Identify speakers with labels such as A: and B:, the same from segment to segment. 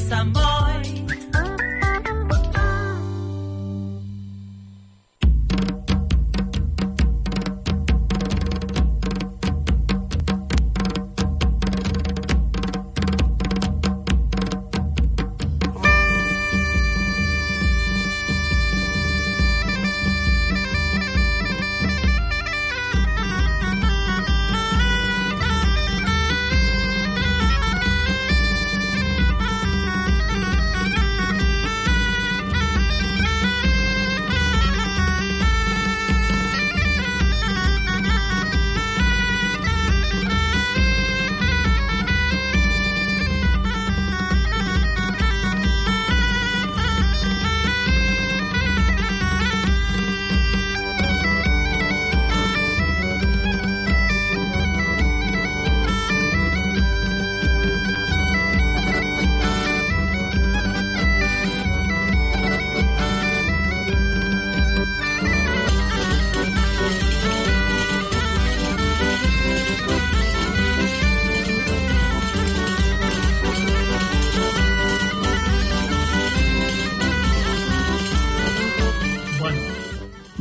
A: interesa moito.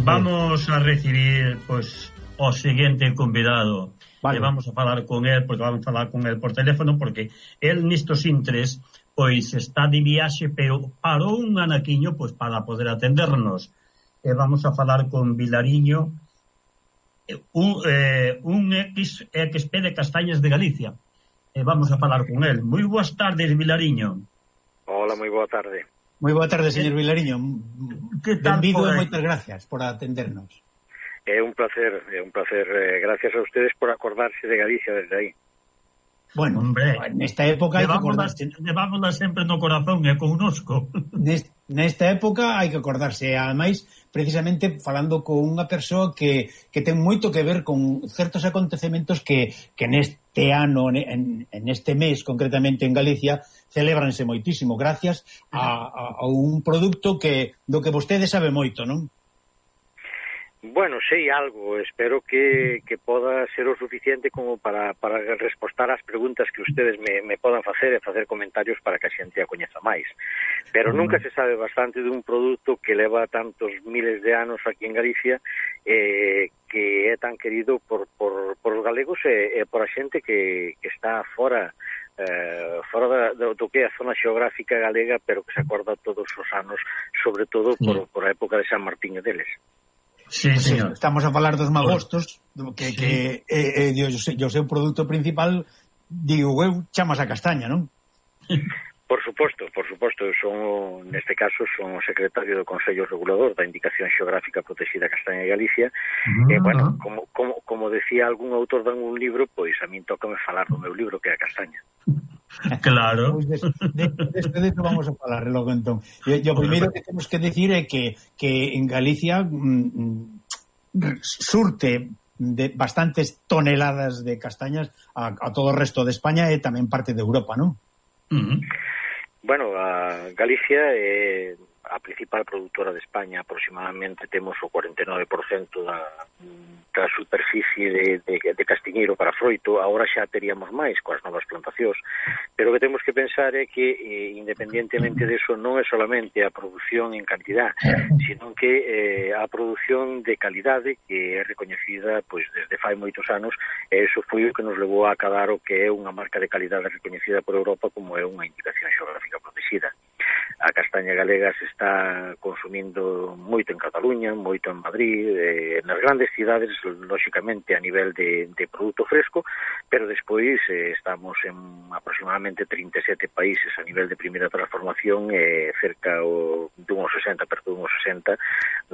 B: Vamos a recibir pois o seguinte convidado. Vale. Vamos a falar con él, porque vamos a falar con él por teléfono, porque él nestos intres pois está de viaxe, pero parou un anaquiño pois para poder atendernos. Vamos a falar con Vilariño, un XP de Castañas de Galicia. Vamos a falar con él. Moi boas tardes, Vilariño.
C: Hola, moi boa tarde.
D: Moi boa tarde, señor Vilariño.
B: Que tal?
D: Benvido e moitas gracias por atendernos.
C: É un placer. Gracias a ustedes por acordarse de Galicia desde aí.
D: Bueno, hombre, nesta época hai que acordarse.
B: Levámola sempre no corazón e connosco.
D: Nesta época hai que acordarse. Ademais, precisamente falando con unha persoa que ten moito que ver con certos acontecementos que neste ano, en este mes, concretamente en Galicia, celébranse moitísimo, gracias a un produto do que vostede sabe moito, non?
C: Bueno, sei algo, espero que poda ser o suficiente como para respostar ás preguntas que ustedes me podan facer e facer comentarios para que a xente a coñeza máis. Pero nunca se sabe bastante dun produto que leva tantos miles de anos aquí en Galicia, que é tan querido por os galegos e por a xente que está fora do que é a zona xeográfica galega, pero que se acorda todos os anos, sobre todo por a época de San Martiño deles.
B: Sí, señor.
D: Estamos a falar dos magostos, que o seu produto principal, digo eu, chamas a castaña, non?
C: Por suposto, neste caso son o secretario do Consello Regulador da Indicación Xeográfica Protexida Castaña de Galicia. E, bueno, como decía algún autor de un libro, pois a min tócame falar do meu libro, que é a castaña.
B: Claro.
D: Pois de eso vamos a falar logo entón. E o primeiro que temos que decir é que en Galicia surte de bastantes toneladas de castañas a todo o resto de España e tamén parte de Europa, non?
C: Bueno, a Galicia é a principal produtora de España. Aproximadamente temos o 49% da superficie de castiñeiro para froito. Agora xa teríamos máis coas novas plantacións, pero o que temos que pensar é que independientemente de eso non é solamente a produción en cantidad, sino que a produción de calidade que é recoñecida pois desde fai moitos anos, e iso foi o que nos levou a acadar o que é unha marca de calidade recoñecida por Europa como é unha indicación xeográfica protegida. A castaña galega se está consumindo moito en Cataluña, moito en Madrid, nas grandes cidades, lóxicamente a nivel de produto fresco, pero despois estamos en aproximadamente 37 países a nivel de primeira transformación e cerca dunhos 60, perto dunhos 60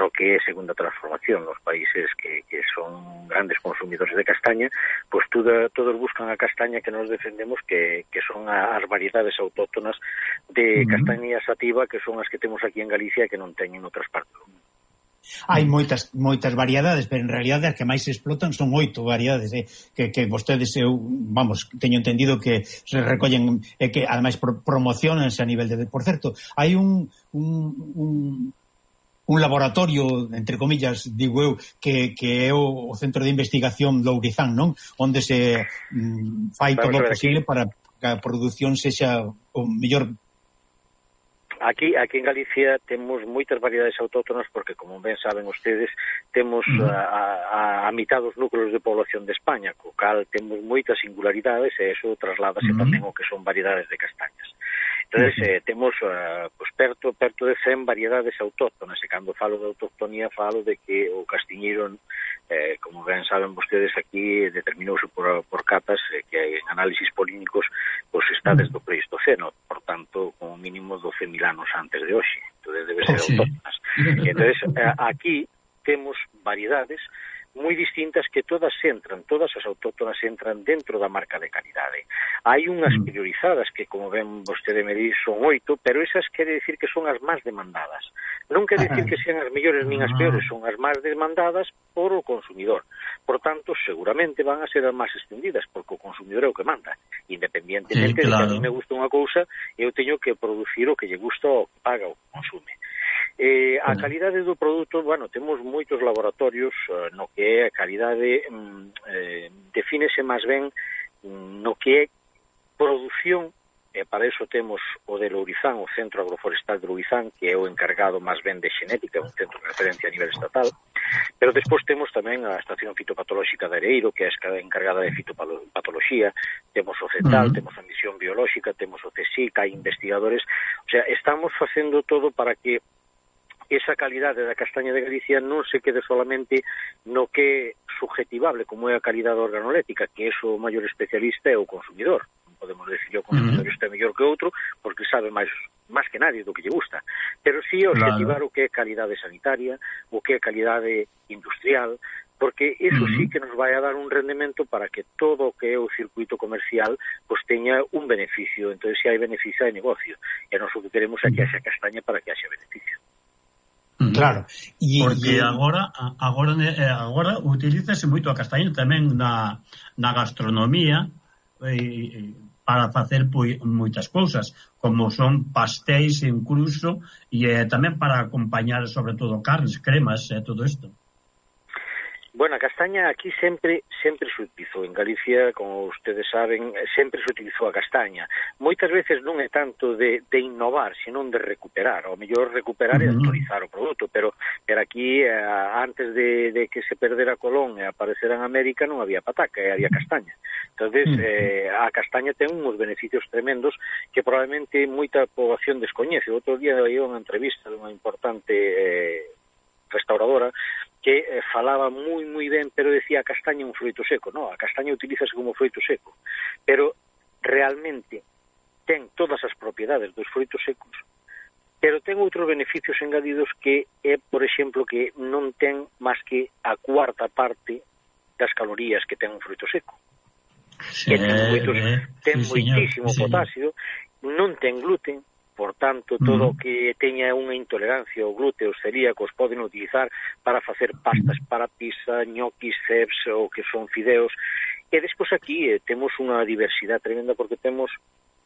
C: no que é segunda transformación. Os países que son grandes consumidores de castaña, pois todos buscan a castaña que nos defendemos, que son as variedades autóctonas de castaña sativa, que son as que temos aquí en Galicia e que non teñen outras partes.
D: Hai moitas variedades, pero en realidade as que máis se explotan son 8 variedades, que vostedes, teño entendido que se recollen e que ademais promocionanse a nivel de... Por certo, hai un laboratorio, entre comillas, digo eu, que é o Centro de Investigación Lourizán, non? Onde se fai todo o posible para que a produción sexa o mellor
C: Aquí en Galicia temos moitas variedades autóctonas porque, como ben saben ustedes, temos a mitad dos núcleos de población de España, co cal temos moitas singularidades e eso trasládase tamén o que son variedades de castañas. Entonces, temos perto de 100 variedades autóctonas, e cando falo de autoctonía falo de que o castiñeiro, como ben saben vostedes, aquí determinouse por catas que en análisis polínicos pues está desde o Pleistoceno, por tanto, como mínimo 12.000 anos antes de hoxe, entonces debe ser autóctonas. Entonces, aquí temos variedades moi distintas que todas as autóctonas entran dentro da marca de calidade. Hai unhas priorizadas que, como ben vostede me di, son 8, pero esas quere decir que son as máis demandadas. Non quere decir que sean as mellores nin as peores, son as máis demandadas por o consumidor. Por tanto, seguramente van a ser as máis extendidas, porque o consumidor é o que manda. Independientemente de que a mí me gusta unha cousa, eu teño que producir o que lle gusta o que paga o que consume. A calidade do produto, bueno, temos moitos laboratorios no que é a calidade defínese máis ben no que é produción, e para iso temos o de Lourizán, o Centro Agroforestal de Lourizán, que é o encargado máis ben de xenética, un centro de referencia a nivel estatal, pero despois temos tamén a Estación Fitopatolóxica de Areiro, que é a encargada de fitopatoloxía, temos o CETAL, temos a Misión Biolóxica, temos o CSIC, hai investigadores, o sea, estamos facendo todo para que esa calidade da castaña de Galicia non se quede solamente no que é subjetivable, como é a calidade organolética, que é o maior especialista é o consumidor. Non podemos decir que o consumidor este é mellor que outro, porque sabe máis que nadie do que lle gusta. Pero sí objetivar o que é calidade sanitaria, o que é calidade industrial, porque eso sí que nos vai a dar un rendemento para que todo o que é o circuito comercial pues teña un beneficio. Entón, se hai beneficio de negocio. E nós o que queremos é que haxa castaña para que haxa beneficio.
D: Claro.
B: Porque agora utilízase moito a castaña tamén na gastronomía para facer moitas cousas, como son pastéis incluso, e tamén para acompañar sobre todo carnes, cremas e todo isto.
C: Bueno, a castaña aquí sempre se utilizou. En Galicia, como ustedes saben, sempre se utilizou a castaña. Moitas veces non é tanto de innovar, senón de recuperar. O mellor recuperar e actualizar o produto, pero aquí, antes de que se perdera Colón e aparecera en América, non había pataca, había castaña. Entonces, a castaña ten uns beneficios tremendos que probablemente moita poboación descoñece. Outro día hai unha entrevista dunha importante restauradora que falaba moi ben, pero decía a castaña un froito seco. No, a castaña utilízase como froito seco, pero realmente ten todas as propiedades dos froitos secos, pero ten outros beneficios engadidos que é, por exemplo, que non ten máis que a cuarta parte das calorías que ten un froito seco. Que ten moitísimo potasio, non ten gluten. Por tanto, todo o que teña unha intolerancia ao glúten, os celíacos poden utilizar para facer pastas para pizza, ñoquis, ceps, ou que son fideos. E despois aquí temos unha diversidade tremenda porque temos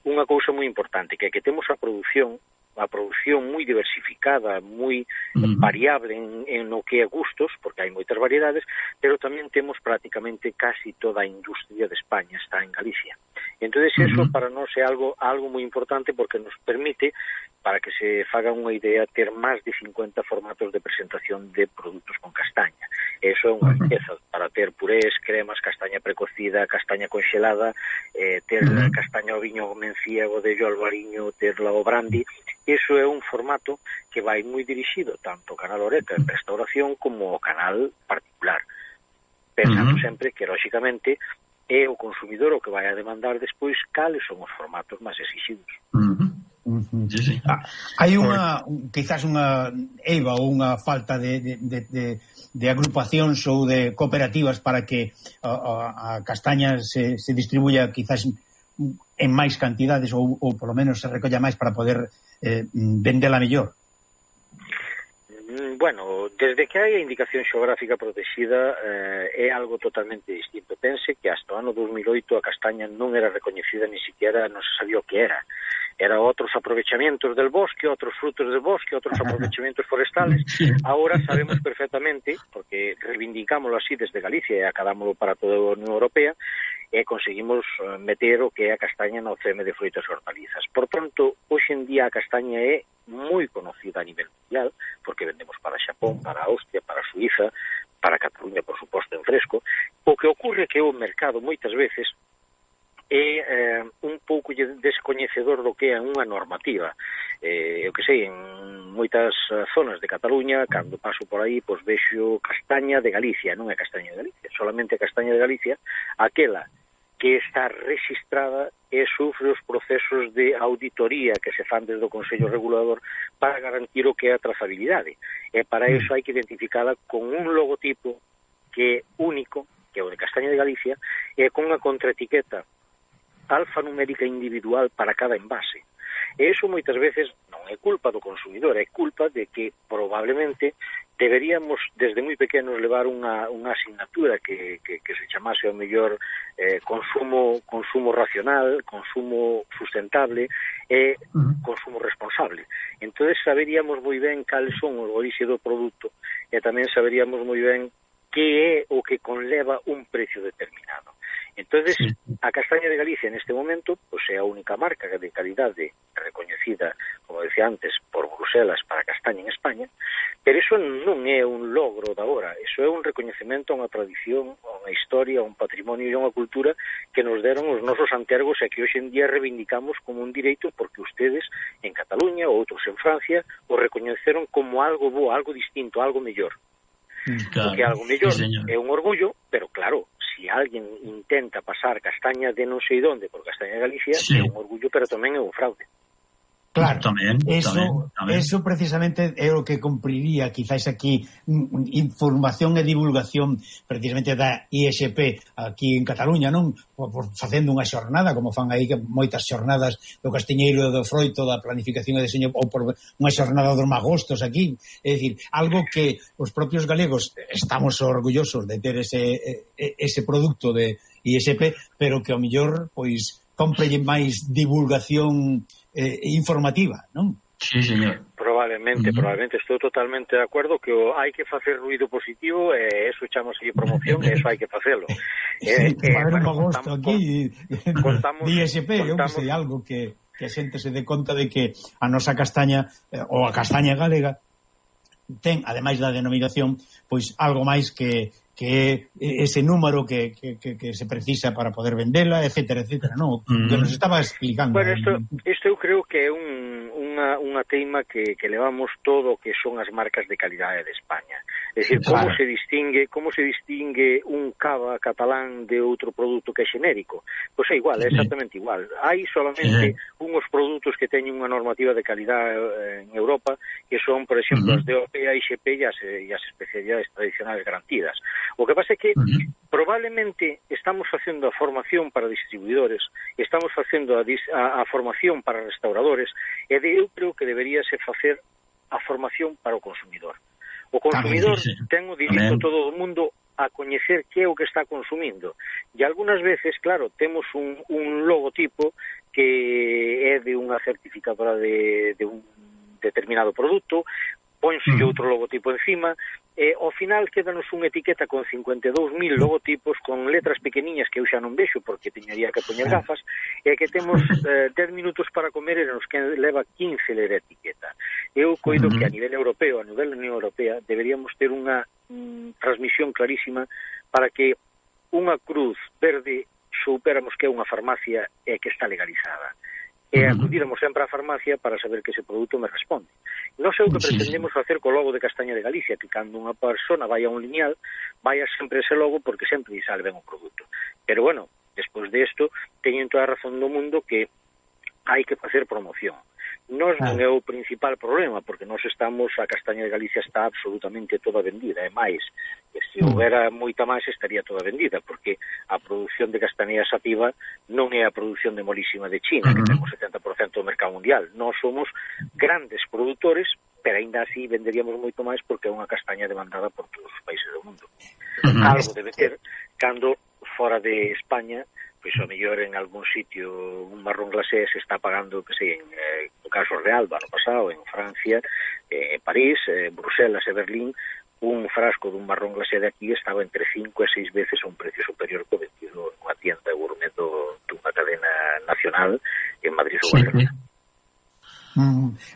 C: unha cousa moi importante, que temos a produción moi diversificada, moi variable en o que é gustos, porque hai moitas variedades, pero tamén temos prácticamente casi toda a industria de España está en Galicia. Entonces, eso para nós é algo moi importante porque nos permite, para que se faga unha idea, ter máis de 50 formatos de presentación de produtos con castaña. Eso é unha riqueza para ter purés, cremas, castaña precocida, castaña conxelada, ter castaña ao viño mencíago de albariño, ter o brandy. Eso é un formato que vai moi dirixido tanto ao canal Oreca en restauración como ao canal particular. Pensando sempre que, lóxicamente, é o consumidor o que vai a demandar despois cales son os formatos máis exigidos.
D: Sí. Hai quizás unha eiva ou unha falta de agrupacións ou de cooperativas para que a castaña se distribuya quizás en máis cantidades ou polo menos se recolla máis para poder vendela mellor.
C: Bueno, desde que hai a indicación xeográfica protexida é algo totalmente distinto. Pense que hasta o ano 2008 a castaña non era recoñecida, ni siquiera non se sabía o que era. Era outros aprovechamentos del bosque, outros frutos del bosque, outros aprovechamentos forestales. Ahora sabemos perfectamente, porque reivindicámoslo así desde Galicia e acadámoslo para toda a Unión Europea, e conseguimos meter o que é a castaña no CM de frutas e hortalizas. Por tanto, hoxe en día a castaña é moi conocida a nivel mundial, porque vendemos para Xapón, para Austria, para Suiza, para Cataluña, por suposto, en fresco. O que ocorre que o mercado moitas veces é un pouco descoñecedor do que é unha normativa. Eu que sei, en moitas zonas de Cataluña, cando paso por aí, pois vexo castaña de Galicia, non é castaña de Galicia, solamente castaña de Galicia, aquela que está registrada e sufre os procesos de auditoría que se fan desde o Consello Regulador para garantir o que é a trazabilidade. E para iso hai que identificala con un logotipo que é único, que é o de castaña de Galicia, e con unha contraetiqueta alfanumérica individual para cada envase. E iso moitas veces non é culpa do consumidor, é culpa de que probablemente deberíamos desde moi pequenos levar unha asignatura que se chamase ao mellor consumo racional, consumo sustentable e consumo responsable. Entonces saberíamos moi ben cales son os orixes do produto e tamén saberíamos moi ben que é o que conleva un precio determinado. Entonces, a castaña de Galicia neste momento pois é a única marca de calidade recoñecida, como decía antes, por Bruselas para castaña en España, pero iso non é un logro de agora, iso é un recoñecemento a unha tradición, a unha historia, a un patrimonio e a unha cultura que nos deron os nosos antergos e que hoxe en día reivindicamos como un direito porque ustedes en Cataluña ou outros en Francia o recoñeceron como algo bo, algo distinto, algo mellor. Claro, porque algo mellor é un orgullo, pero claro, si alguén intenta pasar castaña de non sei donde por castaña de Galicia, é un orgullo, pero tamén é un fraude.
D: Claro, eso precisamente é o que cumpriría quizás aquí información e divulgación precisamente da ISP aquí en Cataluña, non? Por facendo unha xornada, como fan aí moitas xornadas do castiñeiro e do froito da planificación e deseño, ou por unha xornada dos magostos aquí, é dicir, algo que os propios galegos estamos orgullosos de ter ese produto de ISP, pero que ao mellor, pois, comprelle máis divulgación informativa, non?
B: Sí, señor.
C: Probablemente estou totalmente de acordo que hai que facer ruido positivo e eso chamamos aí promoción e eso hai que facelo.
D: Para un agosto aquí ISP, eu que sei, algo que a xente se dé conta de que a nosa castaña ou a castaña galega ten, ademais da denominación, pois algo máis que ese número que se precisa para poder vendela, etcétera, non? Que nos estaba explicando.
C: Bueno, isto eu creo que é unha teima que levamos todo o que son as marcas de calidade de España. É dicir, como se distingue un cava catalán de outro produto que é xenérico? Pois é igual, é exactamente igual. Hai solamente unhos produtos que teñen unha normativa de calidade en Europa, que son, por exemplo, as DOP, a ISP e as especialidades tradicionales garantidas. O que pasa é que probablemente estamos facendo a formación para distribuidores, estamos facendo a formación para restauradores, e eu creo que deberíase facer a formación para o consumidor. O consumidor ten o direito todo o mundo a coñecer que é o que está consumindo. E algunhas veces, claro, temos un logotipo que é de unha certificadora de un determinado produto, ponse outro logotipo encima, e ao final quédanos unha etiqueta con 52.000 logotipos con letras pequeniñas que eu xa non vexo porque teñaría que poñer gafas, e que temos 10 minutos para comer e nos que leva 15 ler a etiqueta. Eu coido que a nivel europeo, a nivel da Unión Europea, deberíamos ter unha transmisión clarísima para que unha cruz verde soupéramos que é unha farmacia e que está legalizada. E acudíramos sempre á farmacia para saber que ese produto me responde. Non sei o que pretendemos facer co logo de Castaña de Galicia, que cando unha persona vai a un lineal, vaya sempre ese logo porque sempre lle sale ben o produto. Pero bueno, despois de isto, teñen toda a razón do mundo que hai que facer promoción. Nos non é o principal problema, porque nós estamos, a castaña de Galicia está absolutamente toda vendida, e máis, se houbera moita máis estaría toda vendida, porque a produción de castaña sativa non é a produción de molísima de China, que temos 70% do mercado mundial. Nós somos grandes produtores, pero ainda así venderíamos moito máis porque é unha castaña demandada por todos os países do mundo. Algo debe ter cando fora de España, pois ao mellor en algún sitio un marrón glacé se está pagando, que sei, en caso real do ano pasado, en Francia, París, Bruselas e Berlín, un frasco dun marrón glacé de aquí estaba entre 5 e 6 veces a un precio superior que vendido nunha tienda gourmet dunha cadena nacional en Madrid ou Barcelona.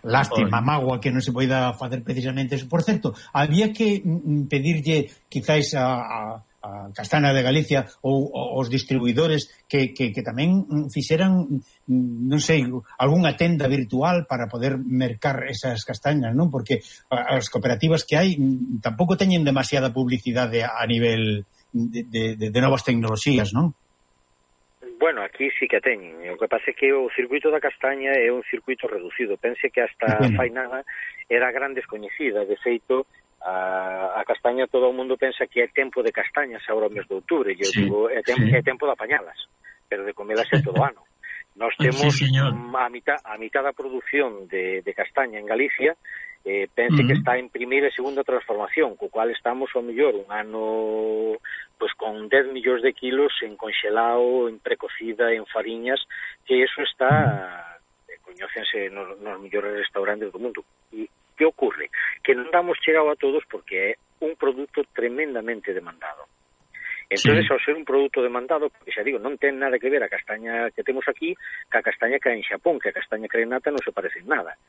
D: Lástima, mágoa que non se poida facer precisamente eso. Por certo, había que pedirlle quizáis a Castaña de Galicia ou os distribuidores que tamén fixeran, non sei, algunha tenda virtual para poder mercar esas castañas, non? Porque as cooperativas que hai tampouco teñen demasiada publicidade a nivel de novas tecnoloxías, non?
C: Bueno, aquí sí que teñen. O que pasa é que o circuito da castaña é un circuito reducido. Pense que hasta fai nada era gran descoñecida. De feito, a castaña todo o mundo pensa que é tempo de castañas agora o mes de outubro. Eu digo, é tempo de apañalas, pero de comelas é todo o ano. Nós temos a mitad da produción de castaña en Galicia, pense que está en primeira e segunda transformación, co cual estamos ao mellor un ano pues con 10 millóns de kilos en congelado, en precocida, en fariñas, que eso está coñécense nos mellores restaurantes do mundo. E que ocorre? Que non damos chegado a todos porque é un produto tremendamente demandado. Entonces, ao ser un produto demandado, porque xa digo, non ten nada que ver a castaña que temos aquí ca castaña que hai en Xapón, que a castaña crenata non se parece en nada.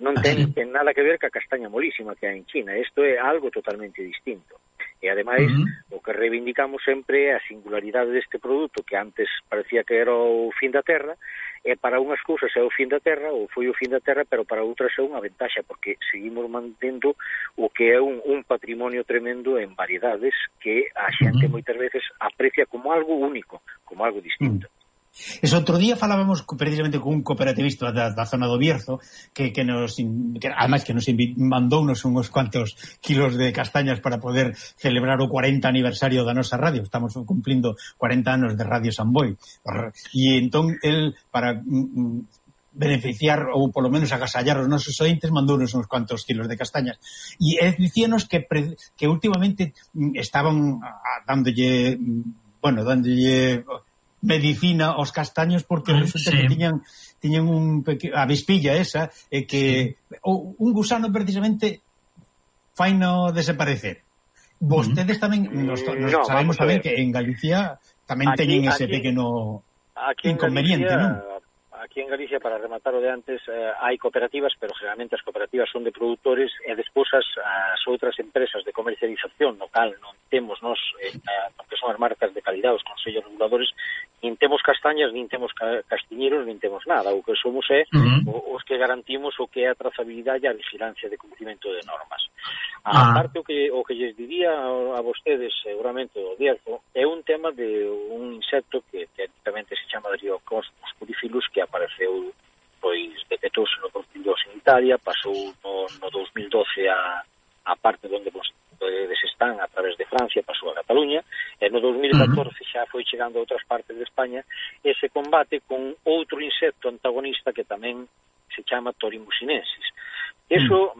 C: Non ten nada que ver ca castaña molísima que hai en China. Isto é algo totalmente distinto. E, ademais, o que reivindicamos sempre é a singularidade deste produto, que antes parecía que era o fin da terra, e para unhas cousas é o fin da terra, ou foi o fin da terra, pero para outras é unha ventaxa, porque seguimos mantendo o que é un patrimonio tremendo en variedades que a xente moitas veces aprecia como algo único, como algo distinto.
D: Ese outro día falábamos precisamente con un cooperativista da zona do Bierzo que además que nos mandounos uns cuantos kilos de castañas para poder celebrar o 40 aniversario da nosa radio. Estamos cumplindo 40 anos de Radio Samboy. E entón, el, para beneficiar ou polo menos agasallar os nosos ointes, mandounos uns cuantos kilos de castañas. E dicíanos que últimamente estaban dándolle medicina aos castaños porque resulta que tiñan a vispilla esa que un gusano precisamente faino desaparecer. Vostedes tamén nos sabemos tamén que en Galicia tamén teñen ese pequeno inconveniente, non?
C: Aquí en Galicia, para rematar o de antes, hai cooperativas, pero generalmente as cooperativas son de produtores e despois as outras empresas de comercialización local non temos nos, porque son as marcas de calidad, os consellos reguladores, nin temos castañas, nin temos castiñeros, nin temos nada. O que somos é os que garantimos o que é a trazabilidade e a vigilancia de cumprimento de normas. A parte o que lles diría a vostedes, seguramente, o Bierzo, é un tema de un insecto que técnicamente se chama Dryocos musculifilus, que apareceu, pois, detectouse no Portillo en Italia, pasou no 2012 a parte onde vostedes están, a través de Francia, pasou a Cataluña, e no 2014 xa foi chegando a outras partes de España, e se combate con outro insecto antagonista que tamén se chama Torimusinensis. Eso,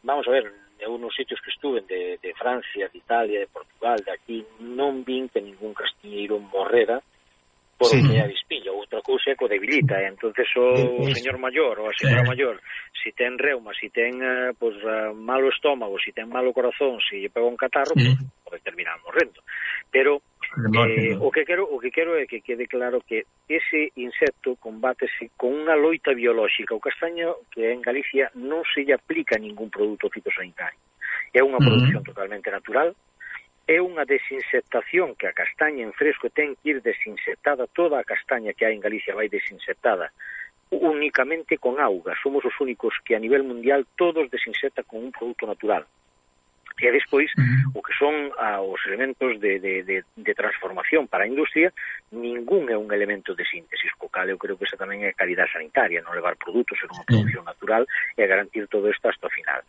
C: vamos a ver, eu nos sitios que estuven de Francia, de Italia, de Portugal, de aquí, non vin que ningún castiñeiro morrera por o que é a vispilla. Outra cousa é que o debilita, entonces o señor maior ou a señora maior, si ten reuma, si ten malo estómago, si ten malo corazón, si lle pega un catarro, pode terminar morrendo. Pero o que quero é que quede claro que ese insecto combátese con unha loita biolóxica. O castaño, que en Galicia non se lle aplica ningún produto fitosanitario. É unha produción totalmente natural, é unha desinsectación que a castaña en fresco ten que ir desinsectada, toda a castaña que hai en Galicia vai desinsectada únicamente con auga. Somos os únicos que a nivel mundial todos desinsecta con un produto natural. E despois, o que son os elementos de transformación para a industria, ningún é un elemento de síntesis, co cal eu creo que esa tamén é calidad sanitaria, non levar produtos en unha producción natural e garantir todo isto hasta o final.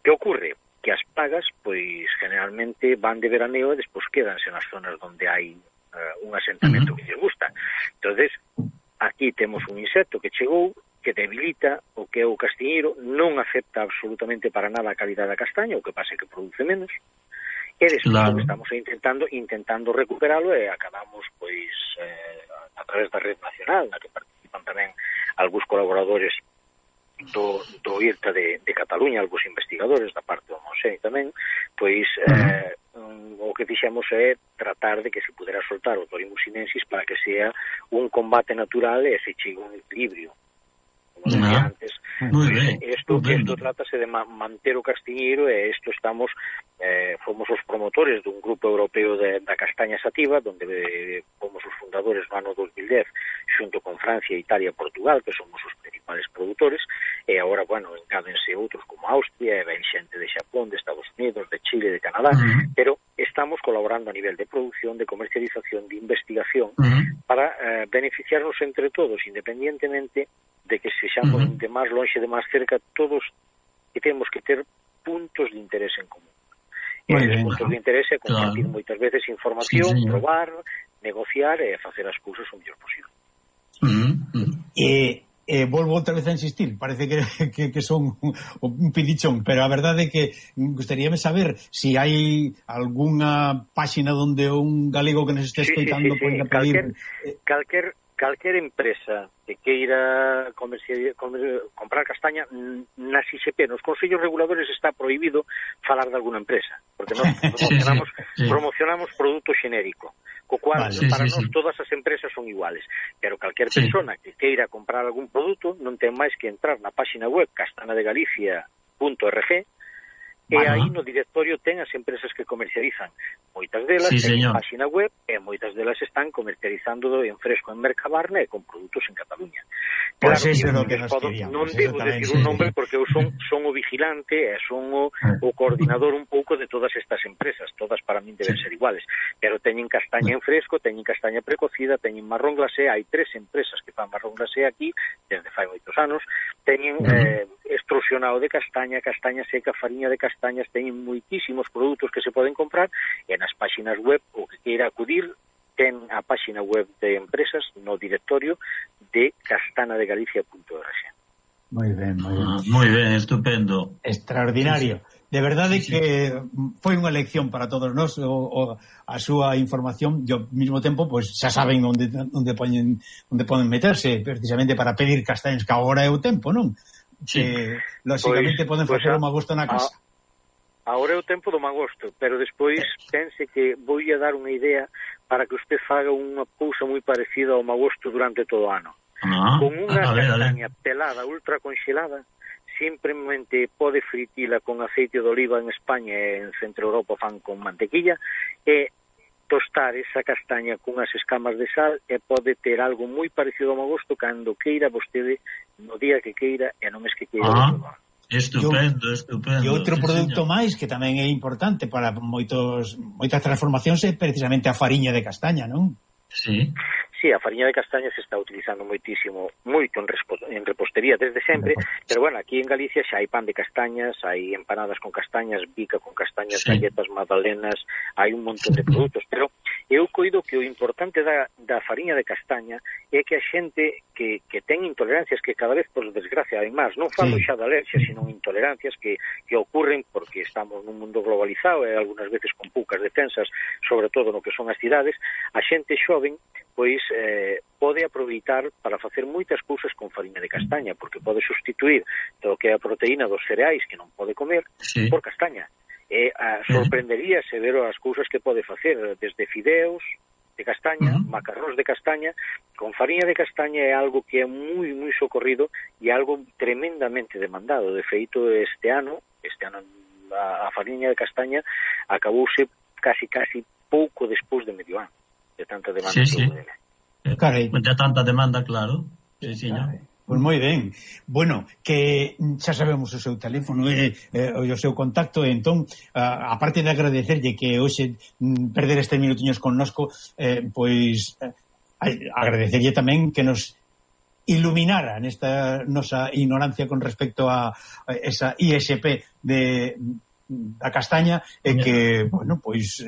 C: Que ocorre? Que as plagas, pois, generalmente van de veraneo e despois quedanse nas zonas onde hai un asentamento que lles gusta. Entonces, aquí temos un insecto que chegou, que debilita o que é o castiñeiro, non acepta absolutamente para nada a calidad da castaña, o que pasa é que produce menos, e despois estamos intentando recuperalo e acabamos pois a través da Red Nacional, na que participan tamén algúns colaboradores do IRTA de Cataluña, algúns investigadores da parte do Montseny tamén, pois o que fixemos é tratar de que se pudera soltar o Torimum sinensis para que sea un combate natural e se chegue un equilibrio. Como decía antes, isto trátase de manter o castiñeiro e isto estamos fomos os promotores dun grupo europeo da castaña sativa, donde fomos os fundadores no ano 2010 xunto con Francia, Italia e Portugal, que somos os principales produtores, e agora, bueno, engádense outros como Austria, e ven xente de Xapón, de Estados Unidos, de Chile, de Canadá, pero estamos colaborando a nivel de producción, de comercialización, de investigación, para beneficiarnos entre todos, independientemente de que sexamos de máis longe, de máis cerca, todos que temos que ter puntos de interés en común. E os puntos de interés é compartir moitas veces información, probar, negociar e facer as cousas o mellor posible.
D: Volvo outra vez a insistir, parece que son un pidichón, pero a verdade é que gustaríame saber se hai algunha páxina onde un galego que nos este escoitando poida pedir...
C: Calquer empresa que queira comprar castaña nas ISP, nos consellos reguladores está prohibido falar de alguna empresa, porque nós promocionamos produto xenérico, co cual para nós todas as empresas son iguales, pero calquer persona que queira comprar algún produto non ten máis que entrar na página web castanadegalicia.org e aí no directorio ten as empresas que comercializan. Moitas delas ten página web e moitas delas están comercializando en fresco en Mercabarna e con produtos en Cataluña.
D: Claro, que
C: non debo decir un nombre porque eu son o vigilante e son o coordinador un pouco de todas estas empresas. Todas para min deben ser iguales, pero teñen castaña en fresco, teñen castaña precocida, teñen marrón glacé. Hai 3 empresas que fan marrón glacé aquí desde fai moitos anos. Teñen extrusionado de castaña, castaña seca, fariña de castañas, teñen moitísimos produtos que se poden comprar e nas páxinas web o que queira acudir ten a páxina web de empresas no directorio de castanadegalicia.org.
D: Moi ben,
B: estupendo.
D: Extraordinario. De verdade que foi unha lección para todos nós a súa información, e ao mesmo tempo pois xa saben onde poden meterse precisamente para pedir castañas, que agora é o tempo, non? Que lógicamente poden facer o magosto na casa.
C: Agora é o tempo do magosto, pero despois pense que vou a dar unha idea para que usted faga unha cousa moi parecida ao magosto durante todo o ano. Con unha castaña pelada, ultra conxelada, simplemente pode fritila con aceite de oliva en España e en Centro Europa fan con mantequilla, e tostar esa castaña cunhas escamas de sal e pode ter algo moi parecido ao magosto cando queira vostede, no día que queira e non es que queira todo.
B: Estupendo.
D: E outro produto máis que tamén é importante para moitas transformacións é precisamente a fariña de castaña, non?
B: Sí,
C: a fariña de castaña se está utilizando moito en repostería desde sempre, pero bueno, aquí en Galicia xa hai pan de castañas, hai empanadas con castañas, bica con castañas, galletas, magdalenas, hai un montón de produtos, pero eu coido que o importante da fariña de castaña é que a xente que ten intolerancias, que cada vez, por desgracia, hai máis, non falo xa de alerxias, sino intolerancias que ocurren porque estamos nun mundo globalizado e algunhas veces con poucas defensas, sobre todo no que son as cidades, a xente xoven pois pode aproveitar para facer moitas cousas con fariña de castaña, porque pode sustituir todo o que é a proteína dos cereais que non pode comer por castaña. E sorprenderíase ver as cousas que pode facer, desde fideos de castaña, macarróns de castaña, con fariña de castaña é algo que é moi, moi socorrido e algo tremendamente demandado. De feito, este ano a fariña de castaña acabouse casi pouco despois de medio ano, de tanta demanda que houve.
B: De tanta demanda, claro.
D: Pois moi ben. Bueno, que xa sabemos o seu teléfono e o seu contacto, entón, aparte de agradecerlle que hoxe perder estes minutiños connosco, pois agradecerlle tamén que nos iluminara nesta nosa ignorancia con respecto a esa ISP da castaña, e que, bueno, pois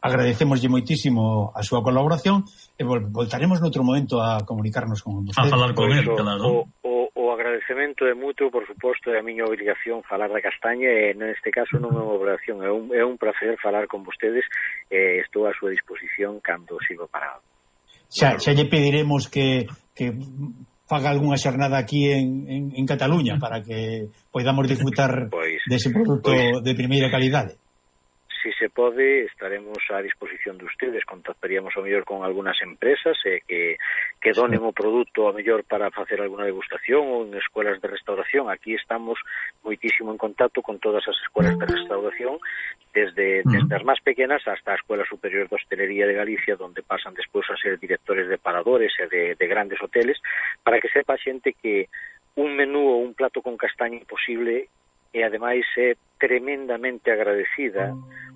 D: agradecemoslle moitísimo a súa colaboración e voltaremos noutro momento a comunicarnos con vostede.
B: A falar con él, claro.
C: O agradecemento é mutuo, por suposto, é a miña obrigación falar da castaña e neste caso non é unha obrigación, é un placer falar con vostedes e estou a súa disposición cando sirva para algo.
D: Xa lle pediremos que faga algunha xornada aquí en Cataluña para que podamos disfrutar dese produto de primeira calidade.
C: Si se pode, estaremos a disposición de ustedes, contactaríamos ao mellor con algunhas empresas que donen o produto ao mellor para facer alguna degustación ou en escuelas de restauración. Aquí estamos moitísimo en contacto con todas as escuelas de restauración, desde as máis pequenas hasta a Escuela Superior de Hostelería de Galicia, donde pasan despois a ser directores de paradores e de grandes hoteles, para que sepa a xente que un menú ou un plato con castaña posible e ademais é tremendamente agradecida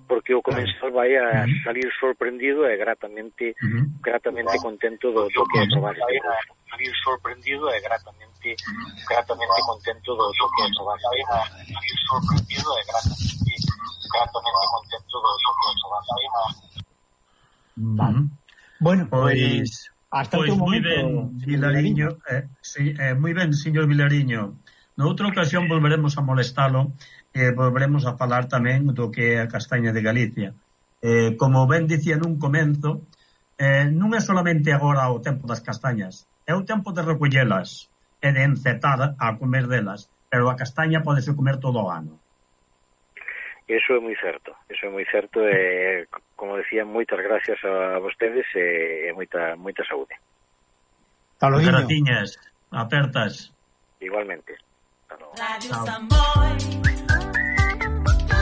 C: porque o comensal vai a salir sorprendido e gratamente contento do que é probar este produto. Salir sorprendido e gratamente contento do que é probar este produto. Salir sorprendido e gratamente contento do que é probar este produto.
D: Vale. Bueno, pois hasta outro momento.
B: Moi ben, Vilariño, moi ben, señor Vilariño. Noutra ocasión volveremos a molestalo e volveremos a falar tamén do que é a castaña de Galicia. Como ben dicía nun comenzo, non é solamente agora o tempo das castañas, é o tempo de recollelas e de encetar a comer delas, pero a castaña podese comer todo o ano.
C: Eso é moi certo, e, como decía, moitas gracias a vostedes e moita saúde.
B: Gratiñas, apertas.
C: Igualmente.
A: Radio Samboy.